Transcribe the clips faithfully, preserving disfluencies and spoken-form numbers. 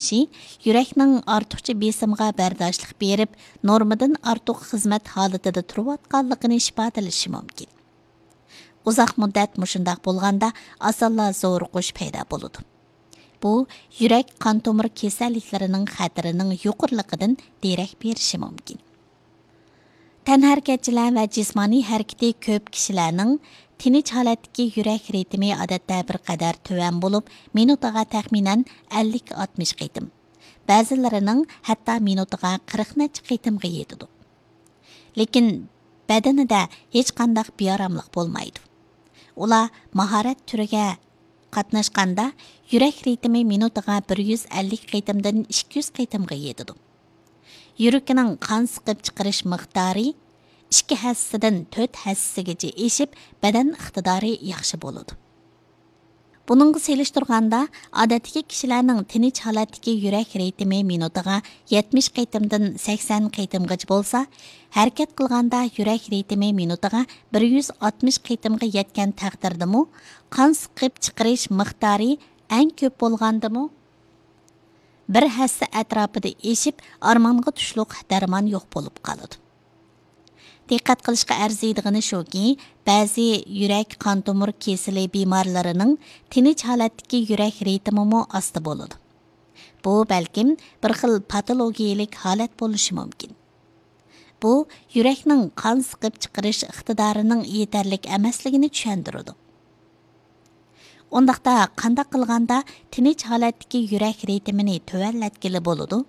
ئىشچى يۈرەكنىڭ ئارتۇقچە بېسىمغا بەرداشلىق بېرىپ، نورمىدىن ئارتۇق خىزمەت ھالىتىدە تۇرۇۋاتقانلىقىنى ئىپادىلىشى مۇمكىن. ئۇزاق مۇددەت مۇشۇنداق بولغاندا، ئاسانلا زورۇقۇش پەيدا بولىدۇ. بۇ يۈرەك قان تومۇر كېسەللىكلىرىنىڭ خەتىرىنىڭ يۇقىرىلىقىدىن دېرەك بېرىشى مۇمكىن. تەنھەرىكەتچىلەر ۋە جىسمانىي ھەرىكىتى كۆپ كىشىلەرنىڭ تىنچ ھالەتتىكى يۈرەك رىتىمى ئادەتتە بىر قەدەر تۆۋەن بولۇپ، مىنۇتىغا تەخمىنەن ئەللىك ئاتمىش قېتىم، بەزىلىرىنىڭ ھەتتا مىنۇتىغا قىرىق نەچچە قېتىمغا يېتىدۇ. لېكىن بەدىنىدە ھېچقانداق بىئاراملىق بولمايدۇ. ئۇلار ماھارەت تۈرىگە قاتناشقاندا، يۈرەك رىتىمى مىنۇتىغا بىر يۈز ئەللىك قېتىمدىن ئىككى يۈز قېتىمغا يېتىدۇ. يۈرىكىنىڭ قان سىقىپ چىقىرىش مىقدارى ئىككى ھەسسىدىن تۆت ھەسسىگىچە ئېشىپ، بەدەن ئىقتىدارى ياخشى بولىدۇ. بۇنىڭغا سېلىشتۇرغاندا، ئادەتتىكى كىشىلەرنىڭ تىنچ ھالەتتىكى يۈرەك رىتىمى مىنۇتىغا يەتمىش قېتىمدىن سەكسەن قېتىمغىچە بولسا، ھەرىكەت قىلغاندا يۈرەك رىتىمى مىنۇتىغا بىر يۈز ئاتمىش قېتىمغا يەتكەن تەقدىردىمۇ، قان سىقىپ چىقىرىش مىقدارى ئەڭ كۆپ بولغاندىمۇ، بىر ھەسسە ئەتراپىدا ئېشىپ، ئارمانغا تۇشلۇق دەرمان يوق بولۇپ قالىدۇ. دىققەت قىلىشقا ئەرزىيدىغىنى شۇكى، بەزى يۈرەك قان تومۇر كېسىلى بىمارلىرىنىڭ تىنچ ھالەتتىكى يۈرەك رىتىمىمۇ ئاستا بولىدۇ. بۇ بەلكىم بىر خىل پاتولوگىيىلىك ھالەت بولۇشى مۇمكىن. بۇ يۈرەكنىڭ قان سىقىپ چىقىرىش ئىقتىدارىنىڭ يېتەرلىك ئەمەسلىكىنى چۈشەندۈرىدۇ. ئۇنداقتا قانداق قىلغاندا تىنچ ھالەتتىكى يۈرەك رىتىمىنى تۆۋەنلەتكىلى بولىدۇ؟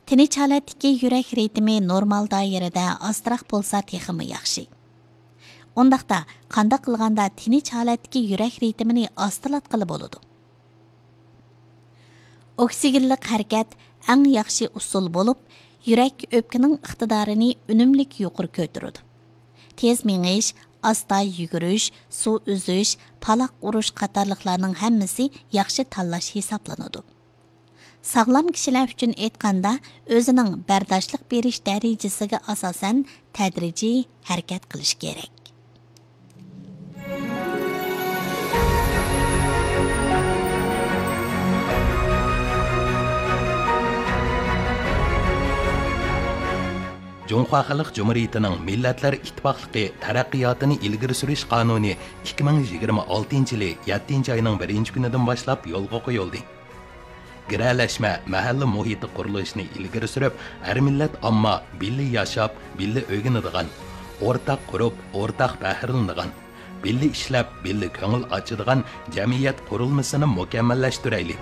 تىنچ ھالەتتىكى يۈرەك رىتىمى نورمال دائىرىدە ئاستىراق بولسا تېخىمۇ ياخشى. ئۇنداقتا قانداق قىلغاندا تىنچ ھالەتتىكى يۈرەك رىتىمىنى ئاستىلاتقىلى بولىدۇ؟ ئوكسىگېنلىق ھەرىكەت ئەڭ ياخشى ئۇسۇل بولۇپ، يۈرەك ئۆپكىنىڭ ئىقتىدارىنى ئۈنۈملۈك يۇقىرى كۆتۈرىدۇ. تېز مېڭىش، ئاستا يۈگۈرۈش، سۇ ئۈزۈش، پالاق ئۇرۇش قاتارلىقلارنىڭ ھەممىسى ياخشى تاللاش ھېسابلىنىدۇ. ساغلام كىشىلەر ئۈچۈن ئېيتقاندا، ئۆزىنىڭ بەرداشلىق بېرىش دەرىجىسىگە ئاساسەن تەدرىجىي ھەرىكەت قىلىش كېرەك. جۇڭخۇا خەلق جۇمھۇرىيىتىنىڭ مىللەتلەر ئىتتىپاقلىقى تەرەققىياتىنى ئىلگىرى سۈرۈش قانۇنى ئىككى مىڭ يىگىرمە ئالتىنچى يىلى يەتتىنچى ئاينىڭ بىرىنچى كۈنىدىن باشلاپ يولغا قويۇلدى. گىرەلەشمە مەھەللە مۇھىتى قۇرۇلۇشىنى ئىلگىرى سۈرۈپ، ھەر مىللەت ئامما بىللە ياشاپ، بىللە ئۆگىنىدىغان، ئورتاق قۇرۇپ، ئورتاق بەھرىلىنىدىغان، بىللە ئىشلەپ، بىللە كۆڭۈل ئاچىدىغان جەمئىيەت قۇرۇلمىسىنى مۇكەممەللەشتۈرەيلى.